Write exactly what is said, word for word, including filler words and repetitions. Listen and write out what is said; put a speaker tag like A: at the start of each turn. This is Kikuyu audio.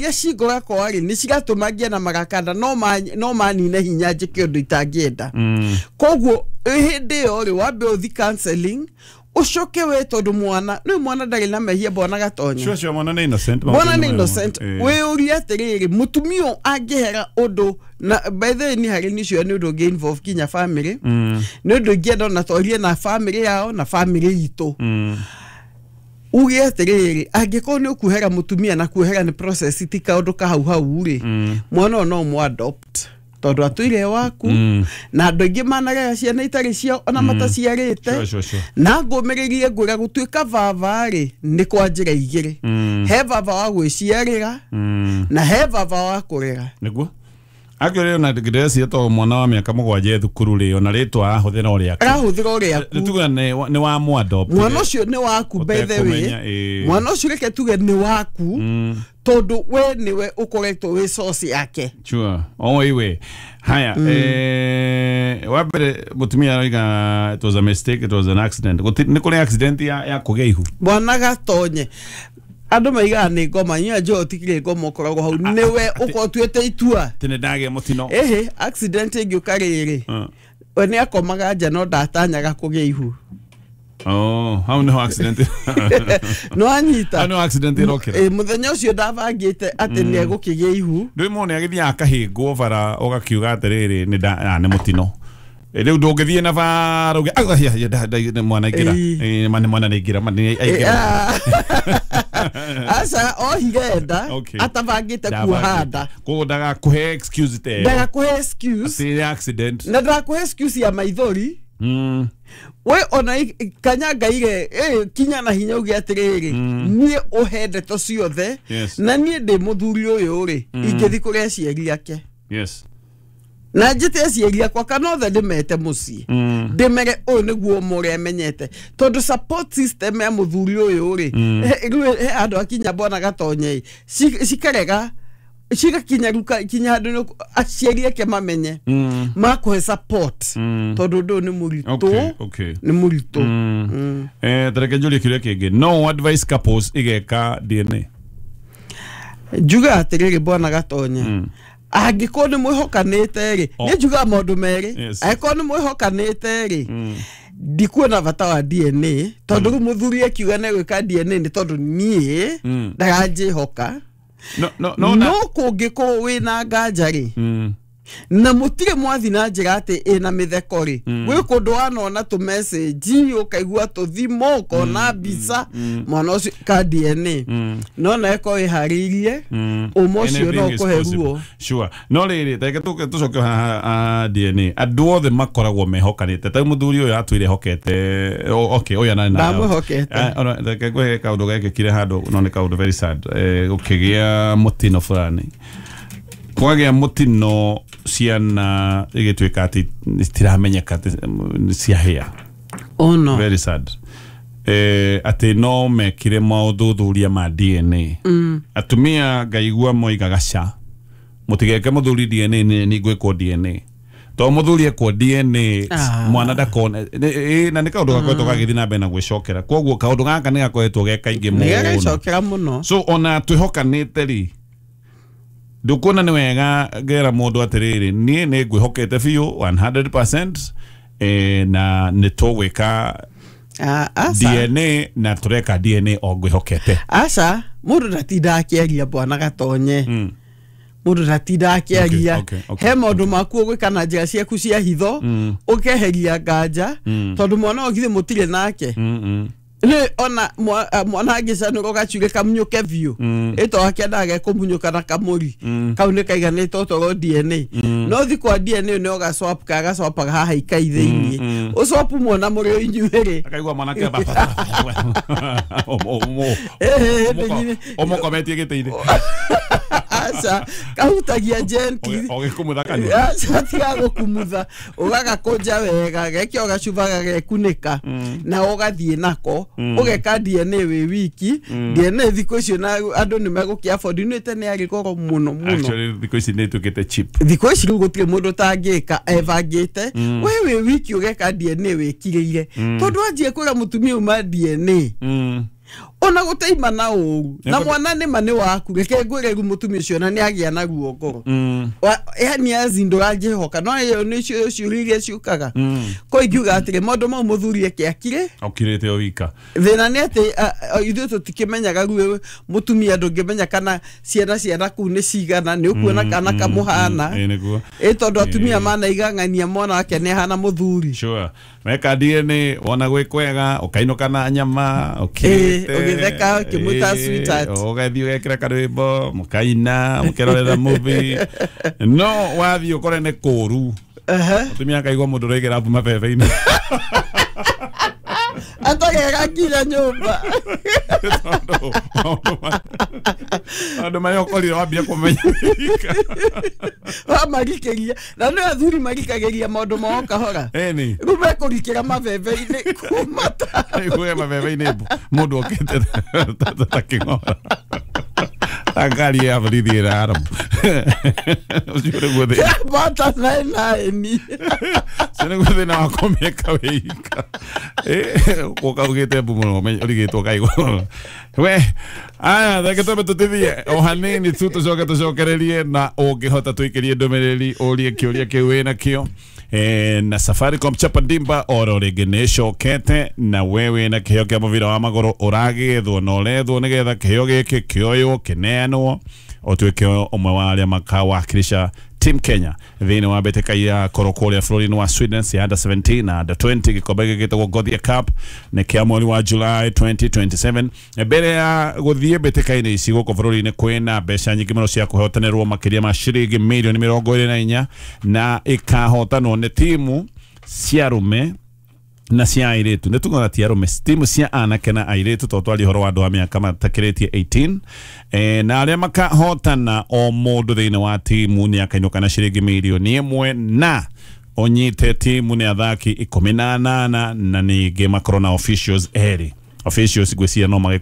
A: Iria cingora kwa rĩ nĩ cigatũma ngĩe na marakanda no ma no manine hinya njĩke ũndũ itangĩenda.
B: Mm.
A: Koguo hĩndĩ ĩyo rĩ, wambe ũthi counseling, ũcoke we, tondũ mwana nĩ mwana, ndarĩ na mehia, bwana Gatonye.
B: Sure sure mwana nĩ innocent.
A: Mwana nĩ innocent.
B: Eh.
A: Wĩyũrie atĩrĩrĩ, mũtumia ũyũ angĩhera ũndũ na by the way, nĩ harĩ nĩ ũcio nĩ ũndũ ũngĩ involve kinya family.
B: Mm.
A: Nĩ ũndũ ingĩenda ona twarie na family yao na family itũ.
B: Mm.
A: Uge atĩrĩrĩ, angĩkorwo nĩ ũkuhera mũtumia, na kuhera nĩ process, ti kaũndũ ka hau hau rĩ,
B: Mm.
A: mwana ũyũ no mũ adopt tondũ atũire waku.
B: Mm.
A: Na andũ aingĩ manarera ciana itarĩ ciao ona mataciarĩte.
B: Sure sure sure
A: Na ngũmĩrĩrie ngwĩra, gũtuĩka baba rĩ, nĩ kwa njĩra igĩrĩ.
B: Mm.
A: He baba wa gwĩciarĩra
B: Mm.
A: na he baba wa kũrera.
B: Nĩguo akĩrĩ ona ndĩrecia to mwana wa mĩaka mũgwanja e thukuru rĩ, ona rĩtwa arahũthĩra o rĩake.
A: Arahũthĩra o rĩaku.
B: Nĩ tuge nĩ nĩ wa mũ adopt.
A: Mwana ũcio nĩ waku by the way.
B: Ũtekũmenya, ĩĩ.
A: Mwana ũcio reke tuge nĩ waku,
B: Mm.
A: tondũ we nĩwe ũkoretwo wĩ source yake.
B: Sure. Oh, iwe. Haya, eh wa mbere mũtumia aroiga it was a mistake, it was an accident. Gũti- Nĩ kũrĩ accident ya ya kũgĩa ihu.
A: Bwana Gatonye, andũ maigaga nĩ ngoma, inyuĩ njũĩ ũtikĩrĩ ngoma, ũkoragwo hau nĩwe ũkorwo ũtuĩte itua.
B: Tene ndagĩa mũtino.
A: Ĩhĩ, accident ĩngĩũka rĩrĩ,
B: Mm.
A: we nĩ akomaga nja no ndatanyaga kũgĩa ihu.
B: Oh, hau nĩho accident.
A: No anyita.
B: Hau nĩho accident ĩrokĩra.
A: Ĩ, mũthenya ũcio ndabangĩte atĩ nĩ egũkĩgĩa ihu.
B: Ndũĩ mũndũ nĩ agĩthiaga akahĩngwo bara ũgakiuga atĩrĩrĩ, nĩ nda ah, nĩ mũtino. Eh, Rĩu ndũngĩthiĩ na bara uge "Ah, ya, ya, nda- nda- mwana aingĩra."
A: Ĩĩ.
B: Eh, ma- nĩ mwana nĩ aingĩra, ma nĩ aingĩra.
A: Aca, ohire nda
B: Okay.
A: atabangĩte kuoha nda.
B: Koguo ndagakũhe excuse ta ĩyo.
A: Ndagakũhe excuse.
B: Atĩ nĩ accident.
A: Na ndagakũhe excuse ya maithori.
B: Mm.
A: We ona i- kanya ngaire eh, kinya na hinya uge atĩrĩrĩ, niĩ ũhe ndeto ciothe.
B: Yes.
A: Na niĩ ndĩ mũthuri ũyũ rĩ, ingĩthi kũrĩ aciari ake
B: Yes.
A: na njĩte aciari akwa kana othe ndĩmete mũciĩ,
B: Mm.
A: ndĩmere ũyũ nĩguo mũrĩa menyete, tondũ support system ya mũthuri ũyũ rĩ, he- rĩu he andũ akinya, bwana Gatonye, ci- cikarega cigakinya rĩu ka- kinya handũ nĩ- aciari ake mamenye
B: Mm.
A: makũhe support,
B: Mm.
A: tondũ ũndũ ũyũ nĩ mũritũ.
B: Okay, okay.
A: Nĩ mũritũ.
B: Mm.
A: Mm.
B: Eh, tareke njũrie kĩũria kĩngĩ. No advice couples igeka D N A?
A: Njuga atĩrĩrĩ, bwana Gatonye,
B: Mm.
A: angĩkorwo nĩ mwĩhokanĩte rĩ,
B: Oh.
A: nĩ njugaga maũndũ merĩ.
B: Yes.
A: Angĩkorwo nĩ mwĩhokanĩte rĩ,
B: Mm.
A: ndikuona bata wa D N A, tondũ rĩu mũthuri akiuga nĩ gwĩka D N A nĩ tondũ niĩ
B: Mm.
A: ndaranjĩhoka.
B: No, no, no, na.
A: No kũngĩkorwo wĩna nganja rĩ,
B: Mm.
A: na mũtirĩ mwathi na njĩra atĩ ĩna mĩtheko rĩ, gwĩ kũndũ wanona tũ message, ũkaigua tũthimo, ũkona mbica, mwana ũcio ka D N A,
B: Mm.
A: no na ĩkorwo ĩharĩirie
B: Mm.
A: ũma ũcio no
B: Anything is
A: ũkũhe
B: possible.
A: ruo.
B: Sure. No rĩrĩ, tareke tũke tũcoke haha ah, D N A. Andũ othe makoragwo mehokanĩte. Ta rĩu mũthuri ũyũ atwĩre hokete. o- Okay, ũyũ anarĩ na.
A: Ndamwĩhokete.
B: Eh, ona reke ngwĩre kaũndũ gekĩkire handũ, no nĩ kaũndũ very sad. Eh, gũkĩgĩa mũtino fulani. Kwagĩa mũtino, ciana igĩtuĩka atĩ citiramenyeka atĩ nĩ ciahĩa.
A: Oh no.
B: Very sad. Eh, atĩ no mekire maũthuthuria ma D N A.
A: Mm.
B: Atumia ngaigua moigaga ca mũtigeke mũthuri D N A, nĩ nĩ ngwĩkwo D N A, to mũthuri ekwo D N A
A: Ah.
B: mwana ndakona. Nĩ- na nĩ kaũndũ gakoretwo gagĩthiĩ na mbere na gwĩcokera, koguo kaũndũ gaka nĩ gakoretwo ge kaingĩ
A: Nĩ
B: mũno.
A: gagĩcokera mũno.
B: So ona twĩhokanĩte rĩ, ndũkuona nĩ wega ngera mũndũ atĩrĩrĩ, niĩ nĩ ngwĩhokete biũ one hundred percent, eh, na nĩ tũgwĩka
A: Ah, aca.
B: D N A, na tũreka D N A o ngwĩhokete.
A: Aca, mũndũ ndatinda akĩaria, bwana Gatonye.
B: Mm.
A: Mũndũ ndatinda akĩaria.
B: Okay, okay, okay,
A: He maũndũ maku ũgwĩka na njĩra ciaku cia hitho,
B: Mm.
A: ũkeheria nganja,
B: Mm.
A: tondũ mwana ũyũ githĩ mũtirĩ nake.
B: Mm, mm.
A: Nĩ ona mwa- ah, mwana angĩcanũra gacuge kamunyũke biũ,
B: Mm.
A: ĩto akĩendaga gekũmunyũka na kamũri
B: Mm.
A: kau nĩ kaiganĩte otorwo D N A. No thi kwa D N A nĩ ũgacwap kagacwapaga haha ikai thĩiniĩ,
B: Mm, mm.
A: ũcwapu mwana mũrĩ o inyuĩ rĩ.
B: Akaigua mwanake
A: Ĩhĩ,
B: ũmũkometie gĩtĩ-inĩ.
A: Aca, kahutagia gently.
B: Ũgĩkumutha kanua.
A: Aca, tiga gũkumutha, ũgagakũnja wega, gekĩa ũgacuba gagekunĩka na ũgathiĩ nako ũgeka D N A wĩ wiki. D N A thikũ icio na andũ nĩ megũkĩ afford, nĩ tene yarĩ goro mũno mũno.
B: Actually thikũ ici nĩ ituĩkĩte cheap.
A: Thikũ ici rĩu gũtirĩ mũndũ ũtangĩka ebangĩte. We wĩ wiki ũgeka D N A wĩkirĩire, tondũ wanjie kwĩra mũtumia uma D N A
B: Mm.
A: Ona gũteima na ũru na
B: Nĩ-
A: mwana nĩ ma nĩ waku. Reke ngwĩre, rĩu mũtumia ũcio na nĩ agĩa na ruo ngoro.
B: Mm.
A: Wa- yani azi ndũranjĩhoka, no ĩyo nĩ cio ciũria iria ciũkaga ko ingiuga atĩrĩ, maũndũ mau mũthuri eke akire.
B: Okirĩte o wika.
A: Thĩna nĩ atĩ a- a- ithuĩ tũtikĩmenyaga. Rĩu mũtumia ndũngĩmenya kana ciana ciana kũu nĩ cigana, nĩ ũkuona kana kamũhana.
B: Ĩ nĩguo.
A: Ĩ tondũ atumia manaigang'ania mwana wake nĩ ahana mũthuri.
B: Sure, meka D N A wona gwĩ kwega, ũkainũka na nyama ũkirĩte.
A: Ĩ, ũgĩtheka, ũkĩmwĩta
B: Ĩ,
A: sweetheart.
B: Ũgathiĩ ũgekĩra karwĩmbo, mũkaina mũkĩrorera movie, no wathiĩ ũkore nĩ kũũru.
A: Ehe.
B: Mũtumia akaigua mũndũ ũraigĩra mbu mabebe-inĩ.
A: Atagega nginya nyũmba.
B: Tondũ maũndũ ma- maũndũ marĩa ũkorire wambia kũmenya wika.
A: Wamarikĩria na nĩ athuri marikagĩria maũndũ mao kahora.
B: Ĩni.
A: Rĩu mekũrikĩra mabebe-inĩ kuma ta
B: Igue mabebe-inĩ mbu mũndũ okĩte ta- ta kĩng'ora, ta ngari ya borithi ĩra aramu ũcio nĩguo thĩna.
A: Bata naĩ naĩni.
B: Ũcio nĩguo thĩna wa kũmĩka wĩika gũka ugĩte mbu mũno, ũmenye- ũrigĩtwo kaigua we. Aya, reke twambe tũtithie o hanini tu, tũcoke tũcokererie, na ũngĩhota tũikĩrie ndũmĩrĩri ũrie kĩũria kĩu wĩna kĩo. Eh, na Safaricom Chapa Dimba oro rĩngĩ nĩ ĩcokete, na we wĩna kĩheo kĩa mũbira wa magũrũ ũragĩethwo na ũrethwo nĩgetha kĩheo gĩkĩ kĩoywo kĩneanwo ũtuĩke ũmwe wa arĩa makawakilisha Team Kenya thĩinĩ wa mbĩtĩka ya korwo kũrĩa bũrũri-inĩ wa Sweden cia under seventeen na under twenty. Gĩkombe gĩkĩ gĩtagwo Gothia Cup, nĩ kĩa mweri wa July twenty twenty-seven. Mbere ya gũthiĩ mbĩtĩka-inĩ ici gũkũ bũrũri-inĩ, kwĩna mbeca nyingĩ mũno cia kũhotanĩrwo, makĩria ma ciringi mirioni mĩrongo ĩrĩ na inya, na ĩkahotanwo nĩ timu cia arũme na cia airĩtu. Nĩ tugaga ti arũme, timu cia anake na airĩtu, tondũ twaria ũhoro wa andũ a mĩaka matakĩrĩtie eighteen. eh, na arĩa makahotana, o mũndũ thĩinĩ wa timu nĩ akainũka na ciringi mirioni ĩmwe, na ũnyite timu nĩ athaki ikũmi na anana, na ningĩ makorwo na officials erĩ. Officials ngwĩciria no magĩkorwo